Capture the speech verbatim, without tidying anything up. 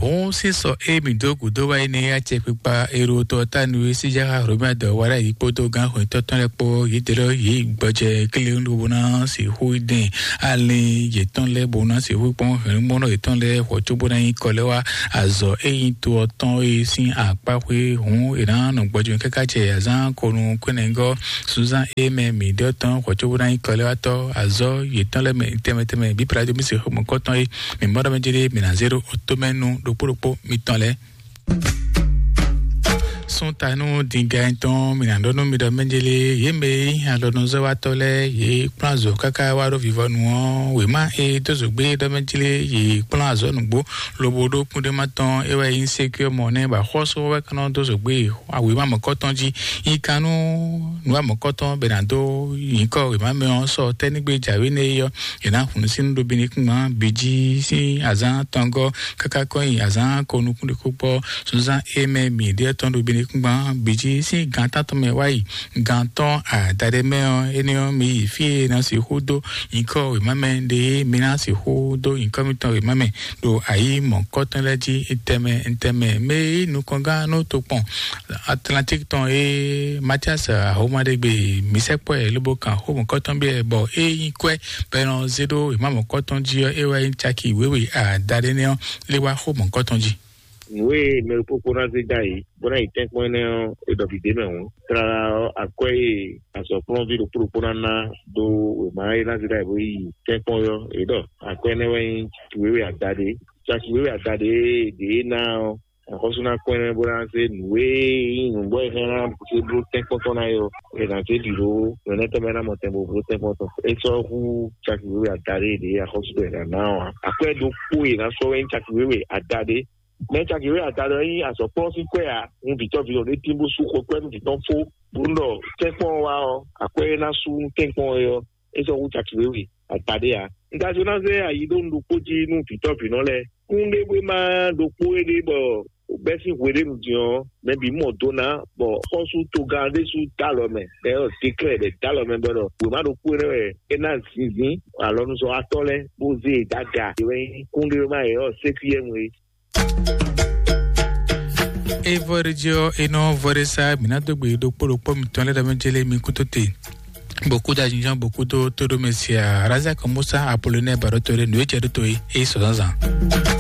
Òun sísọ émi dó gǔdó wá énɛ́ acɛkpikpa erotɔ tánu e síjára Romia dɔ wá ɖ'ayǐ kpódó gán xwetɔ́ tɔn lɛ́ɛ kpó yědɛ́lɔ yě gbɔjɛ kílíwúndó bó ná sixú dɛn alin yětɔn lɛ́ɛ bó ná sixú kpɔ́n hɛ̌nnumɔ́nɔ yětɔn lɛ́ɛ xɔ cóbó ná nyí kɔ lɛ́ wá azɔ̌ e nyí to ɔ́ tɔn e sín akpá xwé hǔn è nǎ nɔ gbɔjɛ káká jɛ azǎn kɔnu kwɛ́nɛgɔ́ Suzan e mɛ mǐ ɖɔ tɔn xɔ cóbó ná nyí kɔ lɛ́ wá tɔ́ azɔ̌ yětɔn lɛ́ɛ mɛ tɛnmɛ tɛnmɛ bǐ Plado mí se xó mɔ̌kɔtɔn e mǐ mɔ ɖɔ mɛ jlé mǐ ná zé ɖo otomɛnu ɖokpó ɖokpó mitɔn lɛ́ɛ. Sún ta nú dǐngá tɔn mǐ ná ɖɔ nú mi ɖɔ mɛ jlé yě mɛ e nyí alɔnuzɔ́watɔ́ lɛ́ɛ yě kplɔ́n azɔ̌ káká wá ɖo vivɔnu ɔ́ wěma e dó zǒgbé ɖɔ mɛ jlé yě kplɔ́n azɔ̌ nǔgbó lobo ɖó kúndéma tɔn é wɛ nyí sékúyɔ́ mɔ nɛ́ bɔ axɔ́sú wɛ ka nɔ dó zǒgbé wěma mɔ̌kɔtɔn jí nyí kan nú nǔwa mɔ̌kɔtɔn bɛ ná dó nyǐkɔ wěma mɛ ɔ́ sɔ tɛ́nígbe jǎwe nɛ́ é ɔ́ è nǎ hun sín ɖo binukúngban bǐ jí sín azǎn tɔngɔ́ káká kɔn nyi azǎn ko nukún ɖé kó kpɔ́ sunzán é mɛ mǐ ɖe tɔn ɖo binukúngban bǐ jí sín gan tántɔn mɛ wá yi gan tɔn adaɖé mɛ ɔ́ énɛ́ ɔ́ mi yi fí e ná sixú dó nyǐkɔ wěma mɛ ɖe mi ná sixú dó nyǐkɔ mitɔn wěma mɛ ɖo ayǐ mɔ̌kɔtɔn lɛ́ɛ jí tɛnmɛ tɛnmɛ mɛ e nukɔngán nú tokpɔn Atlantique tɔn e Mathias Ahomadegbe mi sɛkpɔ́ ɛ lobo kan xó mɔ̌kɔtɔn biɛ bɔ é nyí kwɛ́ bɔ è nɔ zé ɖó wěma mɔ̌kɔtɔn jí ɔ́ é wɛ nyí caki wěwe adaɖé nɛ́ ɔ́ lé wá xó mɔ̌kɔtɔn jí. Nǔ e mɛ ɖokpókpó ná zé dó ayǐ bó ná yi tɛ́nkpɔ́n énɛ́ ɔ́, é ɖɔ vǐ ɖé mɛ hǔn. Tlala ɔ́, akwɛ́ e azɔ̌kplɔ́nví ɖokpó ɖokpó ná ná dó wěma e ná zé dó ayǐ bó yi tɛ́nkpɔ́n ɔ́, é ɖɔ akwɛ́ énɛ́ wɛ nyí caki wěwe adaɖé. Caki wěwe adaɖé e ɖě é ná ɔ́, axɔ́sú ná kɔn ɛ bó ná zé nǔ e nyí nǔgbó e hɛn ná zé bló tɛ́nkpɔ́n tɔn ná é ɔ́, è nǎ zé ɖi ɖó nǔ énɛ́ tɔn mɛ ná mɔ tɛn bó bló tɛ́nkpɔ́n tɔn. É sɔ́ hú caki wěwe adaɖé e ɖě axɔ́sú ɖɔ è nǎ ná ɔ́ ǎ. Akwɛ́ ɖokpó e è nǎ sɔ́ wɛ nyí caki wěwe adaɖé. Mɛ caki wěwe adaɖé ɔ́ nyí azɔ̌kplɔ́n sín kwɛ́ ǎ. Un vǐtɔ́ vǐ ɖé tín bó sú xwekpɛ́ nú vǐ tɔn fó, bó nú ɖɔ tɛ́nkpɔ́n ɔ́ wá ɔ́, akwɛ́ e ná sú nú tɛ́nkpɔ́n ɔ́ é ɔ́, é sɔ́ hú caki wěwe adaɖé ǎ. Un ka jló ná zé ayi ɖó un ɖokpó jí nú vǐtɔ́ vǐnɔ lɛ́ɛ. Kúnɖéwéma ɖokpó éɖée bɔ bɛ́ sín hweɖénu din ɔ́, mɛ bǐ mɔ do ná, bɔ xɔ́sú togán ɖésú dó alɔ mɛ, bɔ é ɖɔ déklɛ́ bɔ é dó alɔ mɛ bɔ é ɖɔ wěma ɖokpó énɛ́ wɛ é ná zinzín alɔnuzɔ́watɔ́ lɛ́ɛ bó zé e dó aga. É wɛ nyí kúnɖéwéma e ɔ́ sékúyɛ́nu é. E vɔ ɖe jí ɔ́, e nɔ vɔ ɖe sá mǐ ná dó gbe ɖokpó ɖokpó mitɔn lɛ́ɛ ɖɔ mɛ jélé mi kútó te. Bokú da jinjɔn bokú dó tóɖó mɛ sia Razak Musa Apolonɛ Barotore nǔ e jɛ ɖó to é, é sɔ zǎnzǎn.